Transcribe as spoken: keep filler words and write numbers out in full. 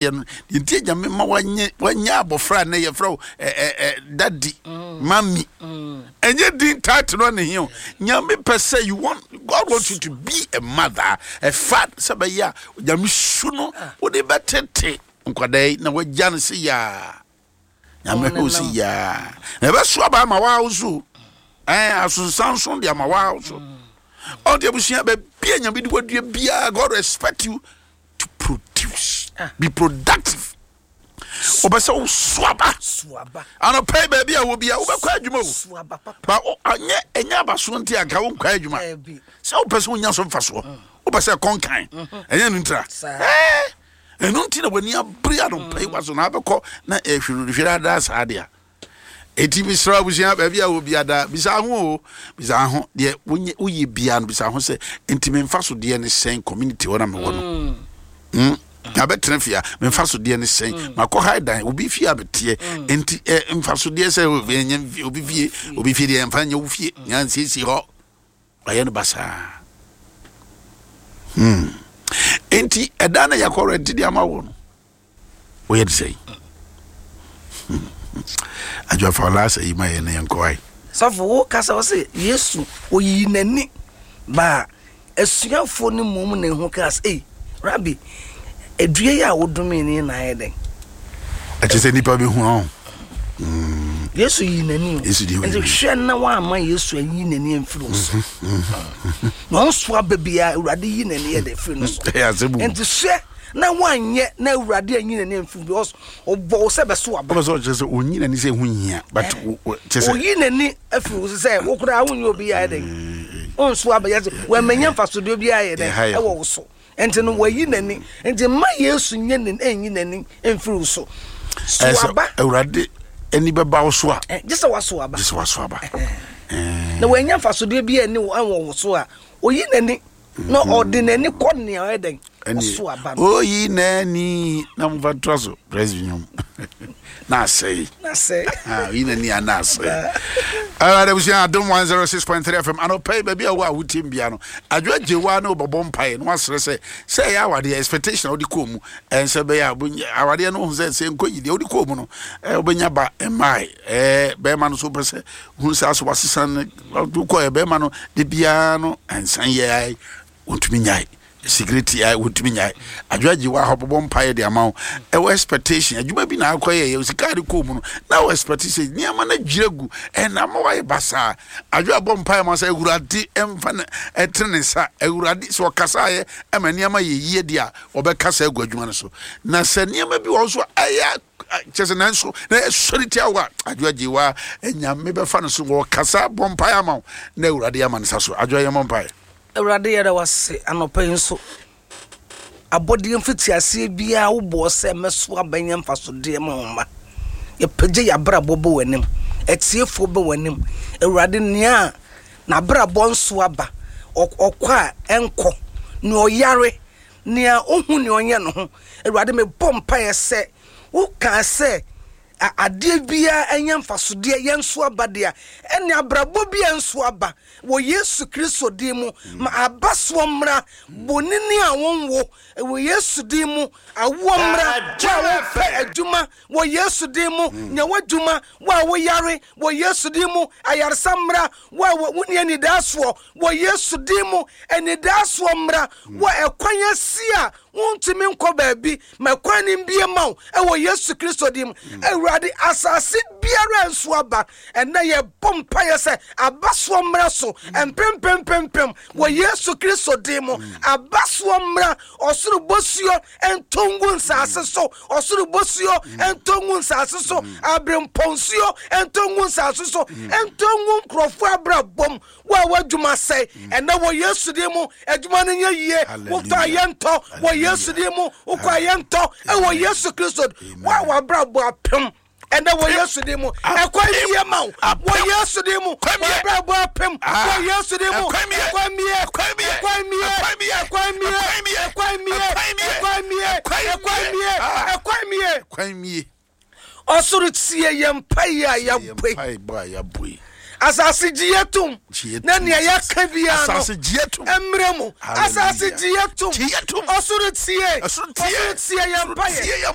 Yɛ no deɛ nti Nyame ma wanyɛ wanyɛ abɔfra a nɛ yɛfrɛ wo ɛ ɛ ɛ daddy, mummy. Ɛnyɛ din title no ne hia o. Nyame pɛ sɛ you want, God wants you to be a mother, a father, sɛ bɛyɛ a Nyame su no wode bɛtete nkwadaa yi na wagya no se yaa Nyame hwɛ wo se yaa na ɛbɛso aba ama waa wo so ɛn asonsanso de ama waa wo so. Ɔde abusua baabi a Nyame de wadua biara, God respect you to produce ah. Be productive. Wɔbɛ sɛ woso aba anɔpɛ yi, baabi a wɔ bia wobɛkɔ adwuma o, ba anyɛ ɛnyɛ abasoɔ nti anka wonkɔ adwuma sɛ wopɛ sɛ wonya so mfasoɔ mm. Wopɛ sɛ ɛkɔnkan mhm. ɛnyɛ no ntira, ɛno nti na w'ani abere anɔpɛ yi mm. Waso na abɛkɔ na ɛhwerehwere adaa saa deɛ. Eti mesrɛ abusua, baabi a wɔ biada, bisa ho o, bisa ho deɛ woyɛ bia no, bisa ho sɛ nti memfa so deɛ ne sɛn community hɔ na mewɔ no mm. mm. Abɛtena fie a, memfa so deɛ ne sɛn mm. Makɔ ha dan obi fie a meteɛ mm. Nti eh, mfa so deɛ sɛ ɛnyɛ obi fie, obi fie deɛ mfa nyɛ wo fie nya nsiesie hɔ ɔyɛ no basaa hmm. Nti ɛda na yɛkɔ rent de ama wo no, woyɛ de sɛn? Adwafa ɔlaasa yi ma yɛ ne yɛnkɔ ae. Sɔfo, wo kasa wɔ sɛ Yesu oyiyi n'ani baa asuafoɔ no mmom na ehu kaa sɛ, "Ei, Rabi, edua yi a wodome ne na ayɛ dɛn?" Ɛkyɛ sɛ nnipa bɛhu ɔ. Yesu yi n'ani o. Yesu di nti hwɛ na wama Yesu ayi n'ani amfiri wo so na ɔnso aba biara Awurade yi n'ani yɛ de firi no so. Nti hwɛ na wanyɛ na Awurade anyi n'ani amfiri, because ɔbɔ wo sɛ bɛso aba. Wopɛ sɛ ɔkyerɛ sɛ ɔnyi n'ani sɛ ɛho nhia, but kyɛ sɛ oyi n'ani afiri wo so sɛ wo koraa wonyɛ obi yɛ dɛn, wonso aba yɛ sɛ wɔamanya mfasodeɛ bi ayɛ dɛn ɛwɔ wo so. Nti no wayi n'ani, nti mma Yesu nyɛ ne ɛnyi n'ani mfiri wo so. So aba. Awurade ani bɛba wo so a, gye sɛ waso aba. Gye sɛ waso aba. Na wanya mfasodeɛ bi ani wɔ wo so a, oyi n'ani na ɔde n'ani kɔ nea ɔyɛ dɛn, ɔso aba no. Oyi n'ani na momfa ntoa so presby nwom na asɛe. Na asɛe. Oyi n'ani a na asɛe. Alright, abusua, Adom one oh six point three F M anɔpa yi, baabi a wo a wotie bia no, Adwo agye wa ne wobɛbɔ mpaeɛ na wasrɛ sɛ sɛ ɛyɛ awadeɛ expectation a wode kɔɔ mu, ɛnsɛ bɛyɛ a awadeɛ no wohu sɛ sɛ nkɔ yi deɛ wode kɔɔ mu no, wobɛnya ba mmae, bɛrima no so wopɛ sɛ hu sɛ aso wasesa no wokɔɛ bɛrima no de biara no ɛnsan yɛ wɔntumi nyae security a wɔntumi nyae. Adwo agye wa hɔ bɔbɔ mpaeɛ de ama wo. Ɛwɔ expectation adwuma bi na akɔyɛ yɛ sika de kɔɔ mu no na wɔ expectation nneɛma no dwira gu ɛna ama wayɛ basaa. Adwo abɔ mpaeɛ ma sɛ Awurade ɛmfa no ɛtene ne nsa. Awurade sɛ ɔkasaeɛ ɛma nneɛma yɛ yie deɛ a, ɔbɛkasa agu adwuma no so. Na sɛ nneɛma bi wɔ so ɛyɛ kyɛ sɛ nanso na ɛsɔre tia wo a, Adwo agye wa Nyame bɛfa no so wɔkasa bɔ mpaeɛ ama wo na Awurade ama ne sa so. Adwo, yɛmmɔ mpaeɛ. Awurade, yɛda wase anɔpa yi nso. Abɔdeɛ mfitiaseɛ biara wobɔɔ sɛ mɛso aba nya mfasodeɛ ma wo mma. Yɛpagya yɛ abrabɔ bɔ w'anim, atiefoɔ bɛ w'anim. Awurade, nea n'abrabɔ nso aba, ɔkɔ a ɛnkɔ, nea ɔyare, nea ohu nea ɔnyɛ no ho, Awurade, mebɔ mpaeɛ sɛ wokaa sɛ adeɛ biara ɛnyɛ mfasodeɛ yɛn nso aba deɛ, ɛne abrabɔ bi nso aba wɔ Yesu Kristo din mu, ma aba soɔ mmra. Bonini a wɔnwo wɔ Yesu din mu, awoɔ mmra. Wo a wopɛ adwuma, wɔ Yesu din mu, nya w'adwuma. Wo a woyare, wɔ Yesu din mu, ayaresa mmra. Wo a wonni anidaasoɔ, wɔ Yesu din mu, anidaasoɔ mmra. Wɔ ɛkwan asi a wontumi nkɔ baabi, ma kwan no mbie ma wo ɛwɔ Yesu Kristo din mu. Awurade, asase biara nso aba, ɛnɛ yɛbɔ mpaeɛ sɛ abasoɔ mmra so mpempempempem wɔ Yesu Kristo din mu. Abasoɔ mmra. Ɔsoro bosuo ntongu nsase so, ɔsoro bosuo ntongu nsase so, aberempɔnsuo ntongu nsase so, ntongu nkurɔfoɔ abrabɔm. Wo a w'adwuma sɛe, ɛnɛ wɔ Yesu din mu, adwuma no nyɛ yie. Wotɔ a yɛntɔ wɔ Yesu din mu, wokɔ a yɛntɔ ɛwɔ Yesu Kristo. Wo a w'abrabɔ apem, ɛnɛ wɔ Yesu din mu, ɛkwan bie ma wo wɔ Yesu din mu. W'abrabɔ apem, wɔ Yesu din mu, ɛkwan mie, ɛkwan mie, ɛkwan mie, ɛkwan mie, ɛkwan mie, ɛkwan mie, ɛkwan mie. Kwan mie. Ɔsoro, tie yɛn mpaeɛ a yɛabɔ. Mpaebɔ a yɛabɔ yi. Asase, gye yɛ tom. Gye yɛ na tom. Nea yɛaka biara no Asase, gye yɛ tom. Mmerɛ mu. Hallelujah. Asase, gye yɛ tom. Gye yɛ tom. Ɔsoro, tie. Ɔsoro, tie. Ɔsoro, tie yɛn Ɔsoro, mpaeɛ. tie yɛn.